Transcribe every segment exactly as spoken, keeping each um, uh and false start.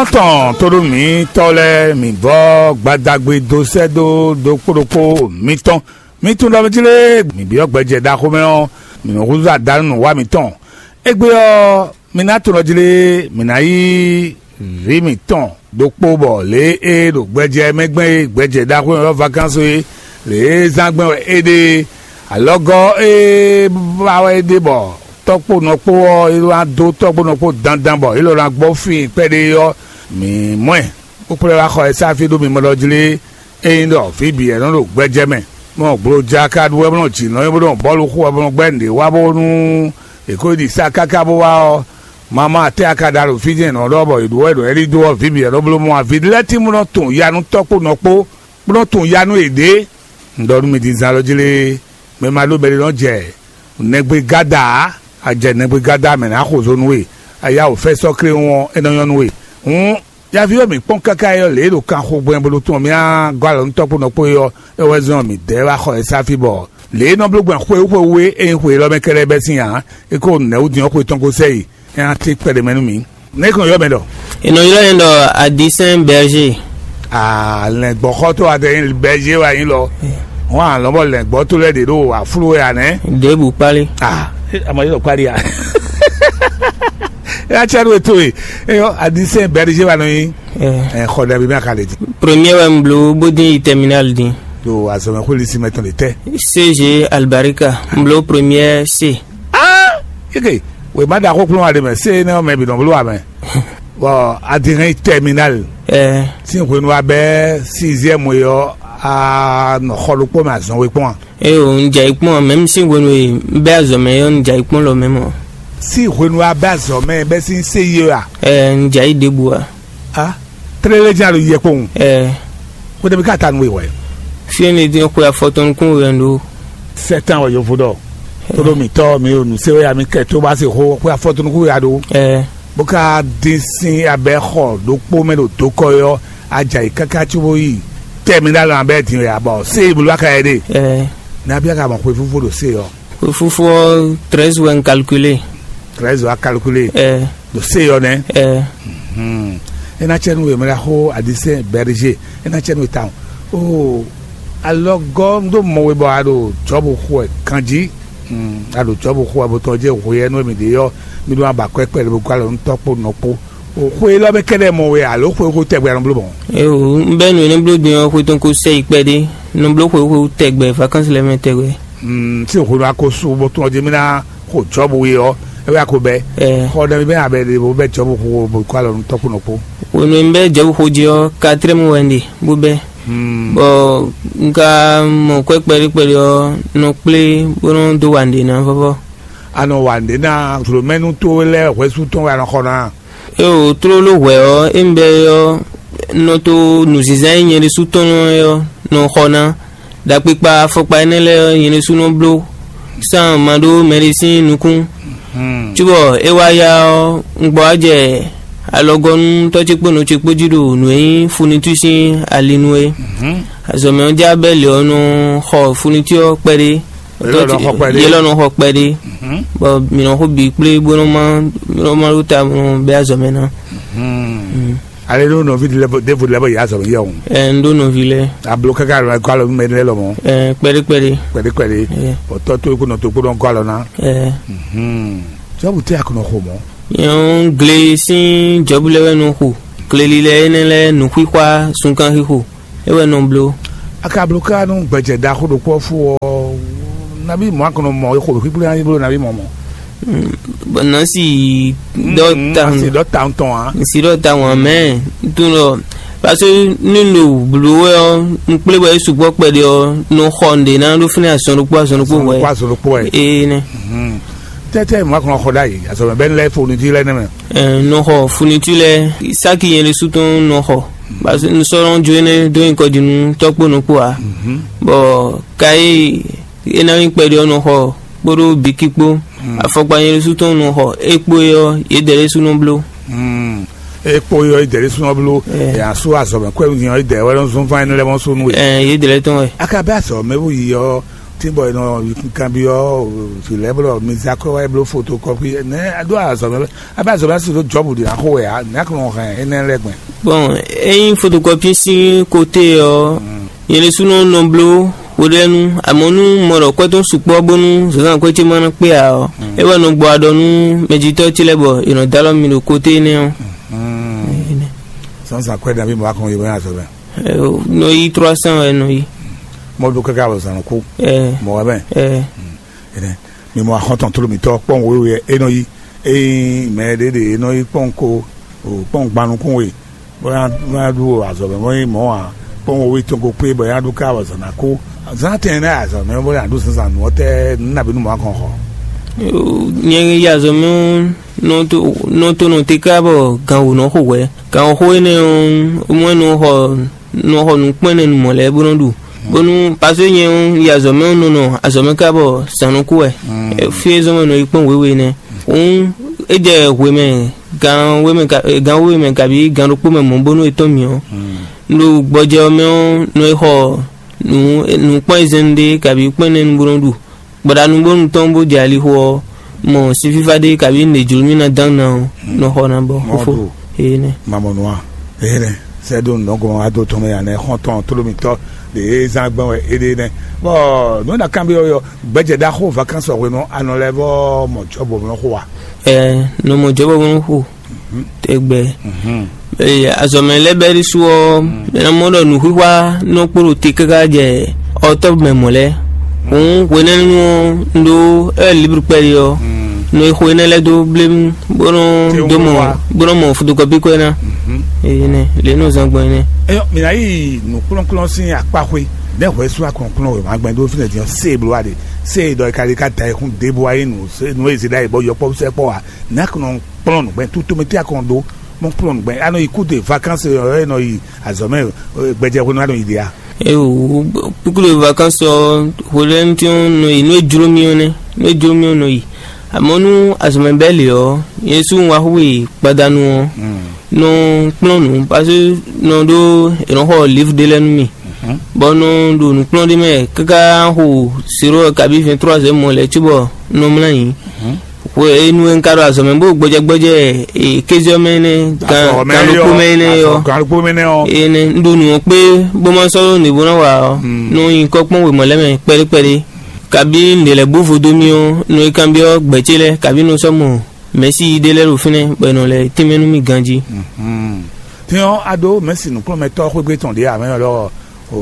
Tɔn tóɖó mǐtɔn lɛ́ɛ, mǐ vɔ́ gbadagbe dó sɛ́ dó ɖokpó ɖokpó mitɔn. Mǐ tunwun ɖɔ mì jlé mǐ byɔ́ gbɛjɛ ɖaxó mɛ ɔ́, mǐ nɔ húzú adanú nǔ wa mǐtɔn. Égbé ɔ́, mi ná tunɔ jlé mǐ ná yí vǐ mǐtɔn ɖokpó bɔ lě e ɖo gbɛjɛ mɛ gbɛn e gbɛjɛ ɖaxó e ylɔ́ vakanso é, lě e zán gbɛn wɛ é ɖe é. Alɔgɔ́ e ba wɛ é ɖe bɔ tɔ́kpónɔ kpó ɔ́, é wá dó tɔ́kpónɔ kpó dandan bɔ é lɔ ná gbɔ fí kpɛɖé ɔ́, mǐ mɔ ɛ, bó kplɔ́ ɛ wá xɔ ɛ sá fí ɖó mimɔ ɖɔ jlé. Ényí ɖɔ fí bǐ wɛ nɔ ɖo gbɛjɛ mɛ, bɔ gbloja ka ɖu wɛ bó nɔ jǐ nɔ é bó nɔ bɔ́lu xo wɛ bó nɔ gbɛ́ nǔɖé wá bónú è ko yi ɖi sá káká bó wá ɔ́, mama atɛ́ a ka ɖa ɖo fí jɛ́n nɔ ɖɔ bɔ è ɖǒ wɛ ɖo ɛ́ ɖi dó ɔ́, vǐ bǐ wɛ nɔ bló mɔ avi lɛ́ɛ tín bó nɔ tunwun ya nú tɔ́kpónɔ kpó, bó nɔ tunwun ya nú yěɖée. Un ɖɔ nú mi din zán lɔ jí lé, mɛ ma ɖó mɛɖé nɔ jɛ nɛgbé gáda ǎ, a jɛ nɛgbé gáda mɛ nǎ xo zo nú we, a yá wǒ fɛ́ sɔ́ kléwún ɔ́, é nɔ nyɔ́ nú we. Hǔn, yaví ɔ́ mǐ kpɔ́n káká é ɔ́, lě e ɖo kanxogbɛn bó ɖo tunwun mì á gɔ́ alɔ nú tɔ́kpónɔ kpó é ɔ́, é wɛ zɔ́n mǐ dɛ́ wá xɔ ɛ sá fí bɔ lě e nɔ bló gbɛn xwé xwé wú é, é nyí xwe élɔ́ mɛ kɛ́ɖɛ́ bɛ́ sín ǎ. É ko nɛ̌ wú din ɔ́ xwe tɔn ko sɛ yi, é ná tín kpɛɖé mɛ nú mǐ. Nɛ̌ kɔn ylɔ́ mɛ ɖɔ? È nɔ ylɔ́ nyɛ ɖɔ Adisɛn Bɛrže. Aa, lɛ̌ngbɔ́xɔtɔ́ adɛnyí bɛ́ yé wá nyí lɔ. Hɔn alɔ́ bɔ lɛ̌ngbɔ́ tó lɛ́ɛ ɖě ɖo aflú wɛ ǎ nɛ́. Ɖěbǔ kpálí. Aa, ama yé lɔ kpálí a? É ná cɛ nú etó e. Eyɔ, adisɛn bɛ́ yé wá nɔ nyí. Ɛ, xɔ ɖɛ bí mɛ a ka lè di. Premier wɛ n bló bó dín yi terminal dín. Ɖo azɔmɛ xwé lisi mɛ tɔn lè tɛ. C G Albarika, n bló premier C. Aa, eke, wè má ɖaxó kplɔ́n wa ɖe mɛ, se énɛ́ ɔ́ mɛ bǐ nɔ bló wa mɛ. Bɔ a di hɛn yi terminal. Ɛ, Sín hwenu abɛ sixième yɔ, a nɔ xɔ ɖokpó mɛ azɔn we kpɔn a? Eo, n jɛ yi kpɔn, mɛ mi sín hwenu e n bɛ azɔ mɛ yɔ, n jɛ yi kpɔn lɔ mɛ mɔ. Sín hwenu abɛ azɔ mɛ bɛ sín se yi a? Ɛ, n jɛ yi ɖěbǔ a? A, tlélé jɛ́n a ɖo yɛ kpowun. Ɛ, Xwéɖémí ka ta nú we wɛ. Fí énɛ́ dín xwe afɔtɔn nukún we wɛ n ɖó. Sɛtán wɛ yovo ɖɔ. Tóɖó mǐtɔn mi ɖo nǔ se wɛ ya mi kɛ tó bá se xó xwe afɔtɔn nukún we ya ɖó. Ɛ, Bó ka dín sín abɛ xɔ ɖokpó mɛ ɖo dokɔ yɔ, ajayi káká cóbó yi tɛmɛ ɖ'alɔ abɛ din wɛ abɔ se yi bulu aka yɛ ɖe. Ɛ, Nabí aka mɔ xwe fúfú ɖo se yɔ. Xwe fúfú ɔ́, treize wɛ n calculé. Treize wa calculé. Ɛ, Ɖo se yɔ nɛ. Ɛ, Hmm. É ná cɛ nú we mɛ ɖaxó adisɛn bɛrije. É ná cɛ nú we tawun. O, alɔgɔ́ un ɖó mɔ we bɔ a ɖo Jɔbu xo wɛ kanjí. Hmm. A ɖo Jɔbu xo wɛ bó tɔn jɛ hwe yɛ nú mi ɖe yɔ, mi ɖó aba kɔ kpɛɖé bó gɔ́ alɔ nú tɔ́ kpó nɔ kpó. O, xwe élɔ́ mɛ kɛ́ɖɛ́ mɔ we alo xwe xo tɛgbɛ nɔ bló mɔ̌? Eo, un bɛ́ nǔ énɛ́ bló din ɔ́, xwe tɔn ko sɛ yi kpɛɖé. Nɔ bló xwe xo tɛgbɛ, vacances lɛ́ɛ mɛ tɛgbɛ. Mm, tí òxo nɔ ako su bó tún ɔdí mí ná xo Jɔbu we ɔ́, é wɛ ako bɛ́. Ɛ, Xɔ ɖɛ mi bɛ́ abɛ ɖe bó bɛ́ Jɔbu xo bó kó alɔ nú tɔ́kpó nɔ kpó. Hwenu e un bɛ́ Jɔbu xo jí ɔ́, quatrième wɛ un ɖe bó bɛ́. Hmm. Bɔ un ka mɔ kwɛ́ kpɛɖé kpɛɖé ɔ́, nɔ kplé bó nɔ dó wa nǔɖé ná vɔ́vɔ́. A nɔ wa nǔɖé ná zlǒmɛnú towe lɛ́ɛ hwɛsú tɔn wɛ a nɔ xɔ ná. Eo, tlóló hwɛ̌ ɔ́, é un bɛ́ é ɔ́, nɔ tó nǔzínzán e nyɛ ɖésú tɔn é ɔ́ nɔ xɔ ná. Ɖakpikpa afɔkpa énɛ́ lɛ́ɛ ɔ́, nyɛ ɖésú nɔ bló sán ma ɖó mɛɖé sín nukún. Hmm. Cóbɔ é wá yá ɔ́, un gbɔ wá jɛ alɔgɔ́ nú tɔ́ ce kpó nɔ ce kpó jí ɖo nǔ e nyí funitú sín ali nu é. Mhm. Azɔ̌mɛ ɔ́ já bɛ́ lě ɔ́ nɔ xɔ funitú ɔ́ kpɛɖé. Yě lɔ nɔ xɔ kpɛɖé. Yě lɔ nɔ xɔ kpɛɖé. Mhm. Bɔ mǐ nɔ xo bǐ kplé bó nɔ má, bó nɔ má ɖó ta bó nɔ bɛ́ azɔ̌mɛ ná. Mhm. Mm. Ale ɖó nɔví ɖěvo lɛ́ɛ bɔ yě azɔ̌mɛ yɛ o. Ɛ, un ɖó nɔví lɛ́ɛ. Ablo káká alɔ kɔ alɔ mɛ lɛ́ɛ lɔ mɔ. Ɛ, kpɛɖé kpɛɖé. Kpɛɖé kpɛɖé. Ɛ. Bɔ tɔ́ tó kó nɔ tó kpó nɔ gɔ́ alɔ ná. Ɛ. Mhm. Jɔbu tɛ a kò nɔ xo mɔ. Nyɔnu gle sín Jɔbu lɛ́ɛ wɛ nɔ xo. Gleli lɛ́ɛ énɛ́ lɛ́ɛ nǔxixwá sunkan xixo. É wɛ nɔ bló. A ka bló ká nú gbɛjɛ ɖaxó ɖokpó ɔ́ fú ɔ́, nabí mɔ̌ a kɔn nɔ mɔ xo ɖo xwíxwí ná bló nabí mɔ̌ mɔ? Mm, bɔ nasi dɔ ta asi dɔ ta ŋutɔn a? Si dɔ ta ŋu amɛ tun lɔ, parce que ni ɖo blo wɛ ɔ, n kplé bɔ e sugbɔ kpɛɖe ɔ, nɔ xɔ nɖe ná ɖó fínɛ azɔn ɖokpó azɔn ɖokpó wɛ. Kó azɔn ɖokpó wɛ. Ee nɛ. Tɛtɛ mɔ̌ a kɔn nɔ xɔ ɖ'ayǐ azɔn mɛ bɛni lɛ fo nudi lɛ nɛ mɛ. Ɛ, nɔ xɔ funitwi lɛ, saki yɛn ɖésú tɔn nɔ xɔ. Parce que un sɔ́ nɔ jó énɛ́ dó nyǐkɔ jí nú tɔ́ kpó nɔ kpó ǎ. Bɔ ka e é ná nyí kpɛɖé ɔ́ nɔ xɔ kpódó biki kpó. Afɔkpa yɛn ɖésú tɔn nɔ xɔ é kpó é ɔ́, yědɛɛ ɖésú nɔ bló. E kpó yɔ idɛ ɖé súnmọ́ bló. Ɛ, yà sú azɔ̌mɛ kwɛ́ nyi ɔ́ idɛ wɛ nɔ zɔn fán ɛnɛ lɛ́ mɔ sú nú we. Ɛ, yědɛɛ lɛ́ tɔn wɛ. A ka bɛ azɔ̌mɛ bó yi ɔ́, Tí bɔ è nɔ kanbyɔ́ vǐ lɛ́ɛ bɔ mi zé akwɛ́ wá yi bló fotokɔ́pi nɛ́ a ɖó azɔ̌ mɛ, a bɛ azɔ̌ mɛ si ɖó Jɔ́bu ɖě ná xo wɛ ǎ, nɛ̌ a ko nɔ hɛn énɛ́ lɛ́ɛ gbɛn? Bon, ényí fotokɔ́pi sín kote ɔ́, nyɛ ɖésúnɔ nɔ bló hweɖénu, amɔ̌ nú mɔ ɖɔ kwɛ́ tɔn sukpɔ́ bónú zǎnzǎn kwɛ́ ce ma ná kpé ǎ ɔ́, é wɛ nɔ gbɔ aɖɔ nú mɛjitɔ́ ce lɛ́ɛ bɔ è nɔ dó alɔ mì ɖo kote énɛ́ ɔ́. Zǎnzǎn kwɛ́ nabí mɔ a kɔn yi bɔ nyi azɔ̌ mɛ? Nɔ yi trois cents wɛ nɔ yi. Mɔ ɖó káká bɔ zǎn nɔ kú. Ɛ Mɔ wɛ mɛ. Ɛ Ɛnɛ, mi mɔ axɔ́ntɔn tló mǐtɔn kpɔ́n wěwe wɛ é nɔ yí. Ényí mɛ ɖě ɖe é nɔ yí kpɔ́n ko, kpɔ́n gban nukún we, bó ná ɖu azɔ̌ mɛ bó nyí mɔ̌ ǎ, kpɔ́n wěwe tɔn ko kpé bɔ é ná ɖu ká wɔ zǎn ná kó. Zǎn tɛn ná azɔ̌ mɛ bó ná ɖu zǎnzǎn nǔ ɔ́ tɛ́ nǔ nabí nú mɔ̌ a kɔn xɔ? Nyɛ yi azɔ̌ mɛ ɔ́, nɔ tó nɔ tó nɔ te ká bɔ gan wǒ nɔ xo hwɛ̌. Gan xo énɛ́ ɔ́, mɔ nɔ xɔ nɔ xɔ nǔkpɛ́nnɛnumɔ lɛ́ɛ bó nɔ́ ɖu, bónú paseke nyɛ ɔ́, yi azɔ̌ mɛ ɔ́ nɔ nɔ azɔ̌ mɛ ká bɔ zǎn nɔ kú wɛ. Fí e zɔ́n wɛ nɔ yi kpɔ́n wěwe nɛ́. Hǔn é jɛ hwemɛ gan wémɛ ka- gan wéwe mɛ kabí gan ɖokpó mɛ mɔ̌ bónú è tɔ́n mì ɔ́, un ɖo gbɔjɛ ɔ́ mɛ ɔ́, nɔ yi xɔ nǔ nǔkpɔ́n e zɛ́n ɖe kabí kpɛ́nnɛnu bó nɔ́ ɖu. Gbɔɖanu bónú tɔn bó jɛ alixo ɔ́, mɔ sin fífá ɖé kabí nǔ e jló mì ná dán ná ɔ́, nɔ xɔ ná bɔ xófó. Ee nɛ́. Mamɔnua, ee nɛ́. Sɛ́ ɖó nǔ nɔ́ gɔ́n wá dó tɔn mɛ ǎ nɛ́ xɔ́ntɔn tló mitɔ́ ɖě e zán gbɛ́ wɛ é ɖe nɛ́. Bɔ nǔ e ná kanbyɔ́ we ɔ́, gbɛjɛ ɖaxó vakansi ɔ́ hwenu ɔ́, a nɔ lɛ́ vɔ́ mɔ Jɔ́bu ɔ́ nɔ xo a? Ɛɛ, nɔ mɔ Jɔ́bu ɔ́ nɔ xo tɛgbɛ. Ee, azɔ̌mɛ lɛ́ɛ bɛ́ ɖésú ɔ́, mɛ ná mɔ ɖɔ nǔxwíxwá nɔ kpo ɖo te káká jɛ ɔtɔ́ mɛ mɔ̌ lɛ́ɛ. Hǔn hwenɛ́nu ɔ́, un ɖó ɛ libru kpɛɖé ɔ́, nɔ e xo énɛ́ lɛ́ɛ dó blémú, bó nɔ dó mɔ, bó nɔ mɔ fotokɔpi kɔ́ ná. Énɛ́ lě nɔ zán gbɔn énɛ́. Eyɔ, mǐ ná yi nǔkplɔ́nkplɔ́n sín akpá xwé. Nɛ̌ hwɛ sú akɔnkplɔ́n wěma gbɛn dó fínɛ́ din ɔ́, sé e bló wa ɖe? Sé e ɖɔ è ka ɖi ká da ayihún ɖěbǔ wá nyí nǔ, nǔ e zě ɖ'ayǐ bɔ yɔkpɔ́vú sɛkpɔ́ ǎ? Nɛ̌ a ko nɔ kplɔ́n nǔgbɛ́? Tutomɛ tɛ́ a ko nɔ ɖó mɔ kplɔ́n nǔgbɛ́? A nɔ yi kúde vakansi ɔ́, ɛ nɔ yi azɔ̌ mɛ, gbɛjɛ hwenu a nɔ yi ɖe a? Eo, kúkúɖo vakansi ɔ́, hwelɛ́nútɔn nɔ yi nú é jló mì ɔ́ nɛ́, nú é jló mì ɔ́ nɔ yi. Amɔ̌ nú azɔ̌mɛ bɛ́ lě ɔ́, nyɛ ɖésú un wá xwé gbadanu ɔ́, nɔ kplɔ́n nǔ, paseke nɔ ɖó è nɔ xɔ livre ɖé lɛ́ɛ nú mì, bɔ nɔ ɖo nǔ kplɔ́n ɖé mɛ káká xo zéro kabí vingt trois heures mɔ lɛ́ɛ cóbɔ nɔ mlá yǐ. Hwenu e un ka ɖo azɔ̌ mɛ bó gbɔjɛgbɔjɛ kéze ɔ́ mɛ énɛ́, gan ɖokpó mɛ énɛ́ ɔ́, gan ɖokpó mɛ énɛ́ ɔ́, énɛ́ un ɖo nǔ ɔ́ kpé bó ma sɔ́ ɖó nǔ e bó ná wa ɔ́, nɔ nyi kɔ́ kpɔ́n wěma lɛ́ɛ mɛ kpɛɖé kpɛɖé. Kabí un ɖe lɛ̌ bó vodó mì ɔ́, nɔ yi kanbyɔ́ gbɛ̌ ce lɛ́ɛ, kabí nɔ sɔ́ mɔ mɛ̌si ɖé lɛ́ɛ ɖo fínɛ́, bɔ è nɔ lɛ́ tínmɛ nú mì ganjí. Tɛ́n ɔ́, a ɖó mɛ̌si nǔkplɔ́nmɛtɔ́ xwégbé tɔn ɖě ǎ, mɛ ɔ́ lɔ, o,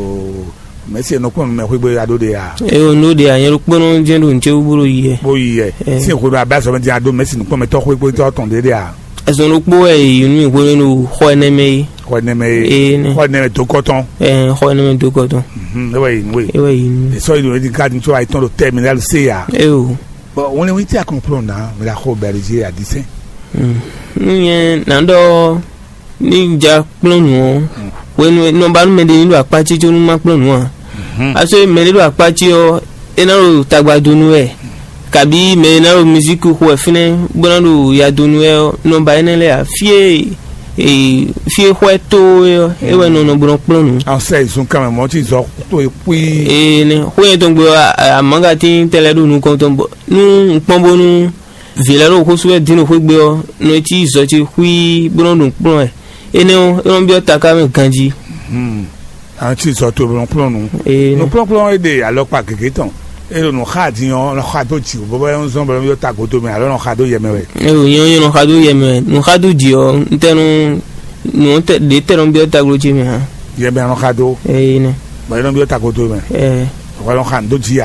mɛ̌si e nɔ kplɔ́n nǔ mɛ xwégbé a ɖó ɖe ǎ? Eo, nǔ ɖé ǎ, nyɛ ɖokpónɔ jɛ́n ɖo nǔ ce wú bó ɖo yi wɛ. Bó yi yɛ. Sín hwenu abɛ azɔ̌ mɛ din a ɖó mɛ̌si nǔkplɔ́nmɛtɔ́ xwégbé tɔn ɖě ɖe ǎ? Azɔn ɖokpó wɛ è yi nú mì hwenu e ɖo xɔ énɛ́ mɛ é. Xɔ énɛ́ mɛ é. Ee, nɛ. Xɔ énɛ́ mɛ dó kɔ tɔn. Ɛɛ, xɔ énɛ́ mɛ dó kɔ tɔn. Mhm, é wɛ yi nú we. É wɛ yi nú. È sɔ́ yi ɖo édi ká ní tsɔ ayetɔn ɖo tɛminali se ya. Eo. Bɔn wọn lé wọn tí a kɔn kplɔn ná, mɛ la xɔ bɛlɛzi adisɛn. Nú nyɛ nǎ ɖɔ ní ja kplɔ́n nǔ ɔ́, hwenu e nɔ ba nú mɛɖé ní ɖo akpá ce có nú má kplɔ́n nǔ ǎ. Aso e mɛɖé ɖo akpá ce ɔ́, é ná ɖo tagba dó nú wɛ, kabí mɛ e ná ɖo mizíki xo wɛ fínɛ́ bó ná ɖo ya dó nú wɛ ɔ́, nɔ ba énɛ́ lɛ́ɛ ǎ. Fí e fí e xwɛ tó é ɔ́, é wɛ nɔ nɔ bó nɔ kplɔ́n nǔ. An sɛ ìzun kan mɛ mɔ tí zɔ tó e kpí. Ee, nɛ xó nyɛ tɔn gbe ɔ́, amǎgatín tɛ lɛ́ɛ ɖo nukɔn tɔn bɔ nú un kpɔ́n bónú vǐ lɛ́ɛ ɖo xó sú wɛ dín ɖo xwé gbe ɔ́, nɔ e cí zɔ ce xwíí bó nɔ́ ɖo nǔkplɔ́n wɛ. Énɛ́ ɔ́, é nɔ́ byɔ́ taká mɛ ganjí. An cí zɔ to nɔ kplɔ́n nu. Ee, nɔ. Nukplɔ́nkplɔ́n e ɖe alɔkpa gěgé tɔn, e ɖo nǔ xa din ɔ́, nɔ xa dó jǐ bɔ é nɔ zɔ́n bɔ é nɔ byɔ́ tagodo mɛ, alɔ nɔ xa dó yɛ mɛ wɛ. Eo, nyɛ ɔ́, nyɛ nɔ xa dó yɛ mɛ wɛ. Nǔ xa dó jǐ ɔ́, un tɛ nɔ nǔ tɛ ɖě tɛ nɔ byɔ́ taglo ce mɛ hã. Yɛ mɛ nɔ xa dó. Ee, nɛ. Bɔ é nɔ byɔ́ tagodo mɛ. Ɛɛ. Bɔ é nɔ xa dó jǐ ǎ.